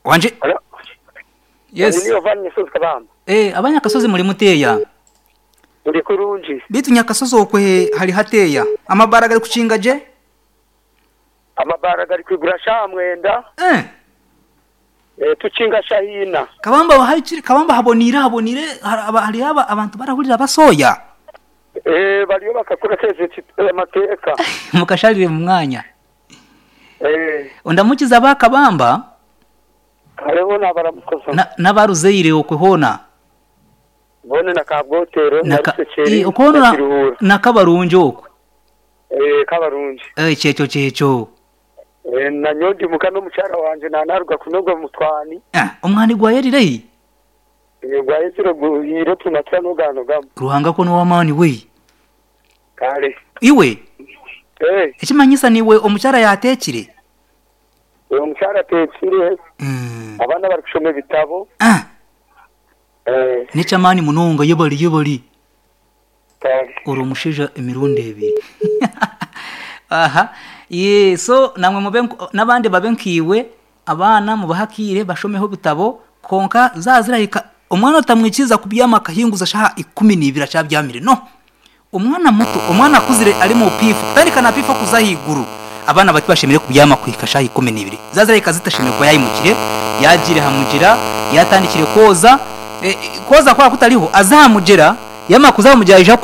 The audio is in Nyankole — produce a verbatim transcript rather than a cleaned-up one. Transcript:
Wanje? Yes. Niyo vani Nyasozi Kabamba. Eh, abanyakasozi muri muteya. Ndi kurungi. Bitu Nyakasozi okwe hari hateya. Amabara gari kuchinga je? Amabara gari kwigura sha mwenda. Eh. Eh, tuchinga shahina. Kabamba hari Kabamba habonira habonire hari aba abantu barahurira basoya. Eh, bariyo bakakora keze amateka. Mukasharire mu mwanya. Eh. Ondamukiza ba Kabamba? Hariho nabaramukoza. Na nabaruzeire okwe hona. Bone na kabwotero na rusekeri. Eh, okona na kabarungi okwe. Eh, kabarungi. Eh, checho checho. Eh, na nyondi mukano mucyara wanje nanaruga kunoga mutwani. Eh, omwani gwa yerirei. Eh, gwa yeziro guhire tunatsa nogano gamo. Ruhanga ko no wamani we. Kale. Iwe. Eh. Ekimanyisa niwe omucyara yatekire. Eh, omucyara atekire. Mm. Abana bari kushoma ebitabo. Ah. Eh. Nechamani munonga yebali yebali. Kale. Uri omushaija emirundi ebiri. Aha. Ye so namwe mube nabandi babe nkiwe abana mubahakire bashomeho bitabo konka zazirahika omwana utamwikiza kubyama kahinguza shaha ikumi n'ibiri acabyamire no omwana muto omwana akuzire ari mu pifu kutandika na pifu kuzahiguru abana bati bashemire kubyama kuhika shaha ikumi n'ibiri zazirahika zitashemire kuba yayimukire yagire hamugira yatandikire koza e, koza kwa kutariho azahamugera yama kuzahamugera ija